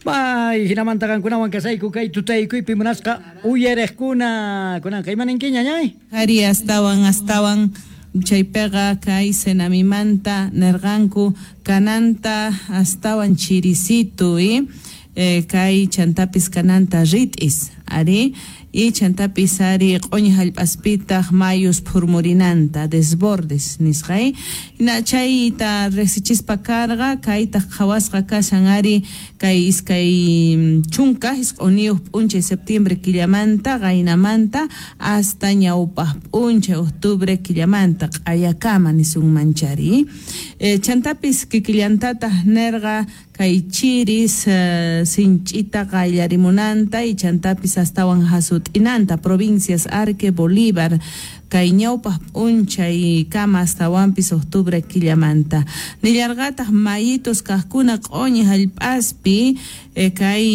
Bay, hinamanta qankunawan kasayku kay tutaykuypi munasqa uyariqkuna. Kunanqa imaninkiña, ñay? Ari astawan astawan chaypiqa kay Senamimanta nerqanku kananta astawan chirisitu kay chantapis kananta rit'is ari y chantapis ari q'uñi jallp'aspitaq mayus phurmurinanta desbordes nisqa na chayta riqsichispa karqa kaytaq qhawasqa kashan ari kay 29 p'unchay septiembre killamanta qaynamanta hasta ñawpaq p'unchay octubre killamanta q'ayakama nisunman chari chantapis kikillantataq nerqa kay chiris sinch'ita qayllarimunanta y chantapis astawan hasut'inanta provincias Arque Bolívar kay ñawpaq p'unchay kama astawanpis octubre killamanta nillarqataq mayitos kaqkuna q'uñi jallp'aspi kay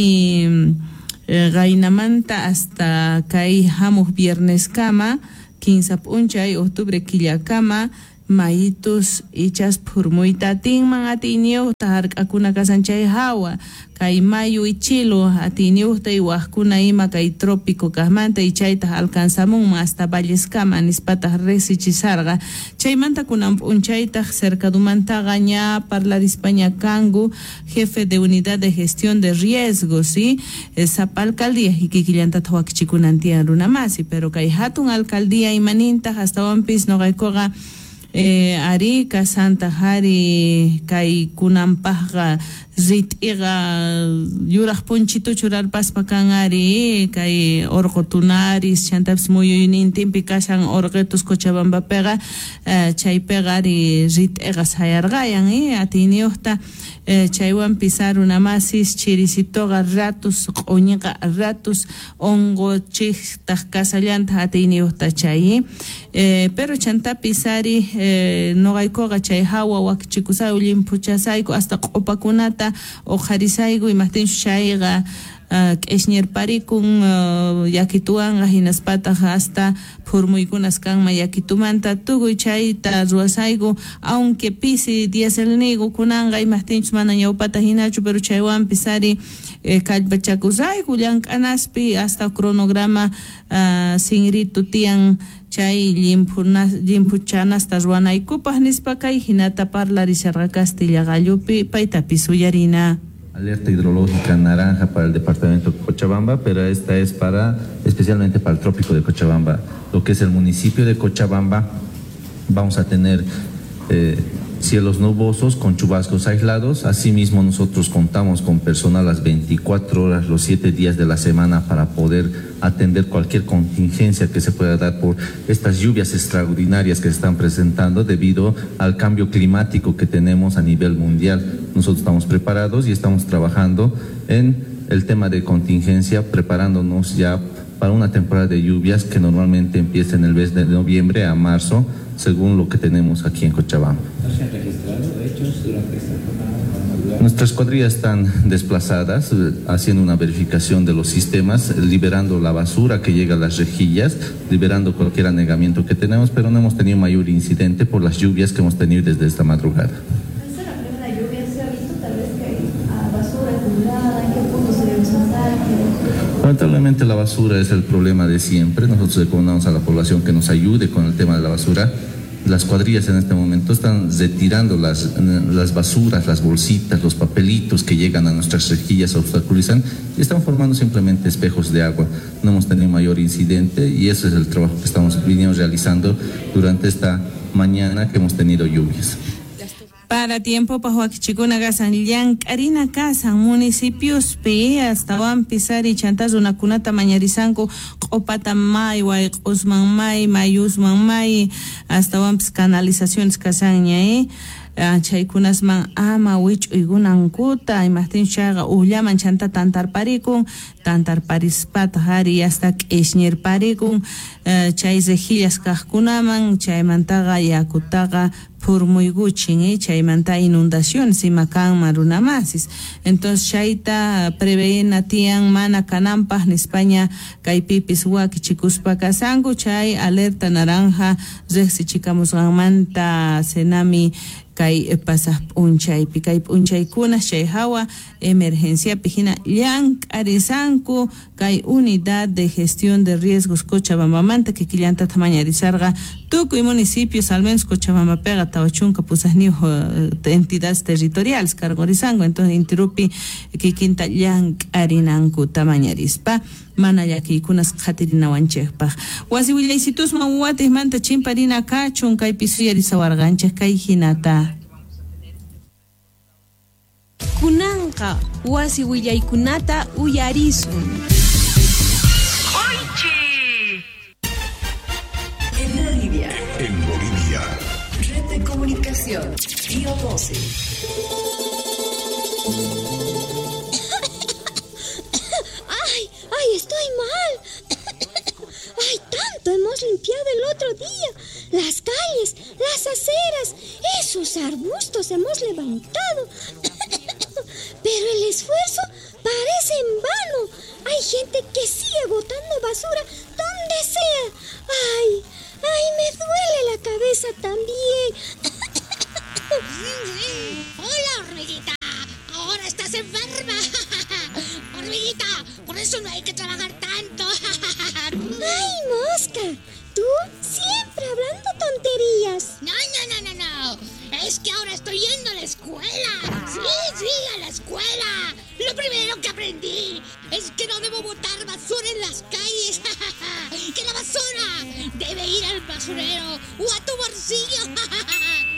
qaynamanta hasta kay hamuq vierneskama 15 p'unchay octubre killakama mayitus ichas phurmuyta atinman atiyniyuqta hark'akuna kasan chay hawa kay mayu ichilu atiyniyuqta y waqkuna ima kay trópico kaqmanta y chaytaq alcanzamunman hasta valleskama nispataq riqsichisarqa chaymanta kunan p'unchaytaq cercadumantaqa ña parlarispaña kanku jefe de unidad de gestión de riesgos ¿sí? Sapa alcaldía y kikillantataq wakichikunan tiyan runamasi pero kay hatun alcaldía imanintaq astawanpis noqaykuqa ari kasanta hari kay kunanpaqqa rit'iqa yuraq punchitu churarpaspa kan ari kay orqo tunaris chantapis muyuynintinpi kashan orqitus Cochabambapiqa chaypiqa ari rit'iqa sayarqayan atiyniyuqta chaywanpis runamasis chirisituqa ratus q'uñiqa ratus unquchiqtaq kasallantaq atiyniyuqta chay pero chantapis ari noqaykuqa chay hawa wakichikusayku llimphuchasayku hasta q'upakunata uqharisayku imaqtinchus chayqa k'ishñirparikun yakituwanqa hinaspataq hasta phurmuykunas kanman yakitumanta tukuy chayta ruwasayku aunque pisi dieselniyku kunanqa imaqtinchus mana ñawpata hinachu pero chaywanpis ari kallpachakusayku llank'anaspi hasta cronograma sinritu tiyan chay llimphuchanasta ruwanaykupaq nispa kay hinata parlarisharqa Castilla qallupi paytapis uyarina. Alerta hidrológica naranja para el departamento de Cochabamba, pero esta es para especialmente para el trópico de Cochabamba. Lo que es el municipio de Cochabamba, vamos a tener cielos nubosos con chubascos aislados. Asimismo, nosotros contamos con personal las 24 horas, los 7 días de la semana para poder atender cualquier contingencia que se pueda dar por estas lluvias extraordinarias que se están presentando debido al cambio climático que tenemos a nivel mundial. Nosotros estamos preparados y estamos trabajando en el tema de contingencia, preparándonos ya para una temporada de lluvias que normalmente empieza en el mes de noviembre a marzo, según lo que tenemos aquí en Cochabamba. ¿No se han registrado hechos durante esta jornada? Nuestras cuadrillas están desplazadas, haciendo una verificación de los sistemas, liberando la basura que llega a las rejillas, liberando cualquier anegamiento que tenemos, pero no hemos tenido mayor incidente por las lluvias que hemos tenido desde esta madrugada. ¿Es la primera lluvia? ¿Se ha visto tal vez que hay basura acumulada? ¿En qué punto se debe pasar? Lamentablemente la basura es el problema de siempre. Nosotros recomendamos a la población que nos ayude con el tema de la basura. Las cuadrillas en este momento están retirando las basuras, las bolsitas, los papelitos que llegan a nuestras rejillas, obstaculizan y están formando simplemente espejos de agua. No hemos tenido mayor incidente y eso es el trabajo que estamos viniendo realizando durante esta mañana que hemos tenido lluvias. Para tiempo pa wakichikuna kasan llank'arina kasan municipiospi astawanpis ari chanta runakunata mañarisanku q'upata may wayq'usman may mayusman may astawanpis canalizaciones kasanña chaykunasman ama wich'uykunankuta imaqtinchus chayqa ujllaman chanta tantarparikun tantarparispataq ari hasta k'ishñirparikun chay rejillas kaqkunaman chaymantaqa yakutaqa phurmuykuchin chaymanta inundaciones ima kanman runamasis. Entonces chayta preveena tiyan mana kananpaj nispaña kaypipis wakichikuspa kasanku chay alerta naranja riqsichikamusqanmanta Senami kay pasaq p'unchaypi kay p'unchaykuna chay hawa emergenciapi hina llank'arisanku kay unidad de gestión de riesgos Cochabambamanta kikillanta mañarisarqa tukuy municipios al menos Cochabambapiqa 48 entidades territoriales cargorisanku entonces intirupi kikinta llank'arinankuta mañarispa mana llakiykunas qhatirinawanchikpaq wasi willaysitusman watijmanta chimparina kachun kaypi suyarisawarqanchik kay hinata. Kunanqa wasi willaykunata uyarisun. En Bolivia. En Bolivia. Red de comunicación. Río 12. ¡Ay! ¡Ay, estoy mal! ¡Ay, tanto hemos limpiado el otro día! Las calles, las aceras, esos arbustos hemos levantado. Pero el esfuerzo parece en vano. Hay gente que sigue botando basura donde sea. ¡Ay! ¡Ay, me duele la cabeza también! ¡Hola, hormiguita! ¡Ahora estás enferma! ¡Hormiguita! ¡Por eso no hay que trabajar tanto! ¡Ay, mosca! Tú siempre hablando tonterías. No, no, no, no, no. Es que ahora estoy yendo a la escuela. Sí, sí, a la escuela. Lo primero que aprendí es que no debo botar basura en las calles. Que la basura debe ir al basurero o a tu bolsillo.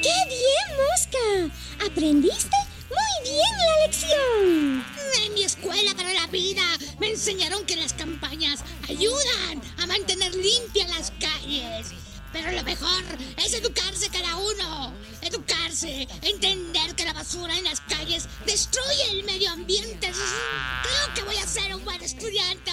¡Qué bien, mosca! Aprendiste muy bien la lección. En mi escuela para la vida me enseñaron que las campañas ayudan a mantener limpias las calles. Pero lo mejor es educarse cada uno. Educarse, entender que la basura en las calles destruye el medio ambiente. Creo que voy a ser un buen estudiante.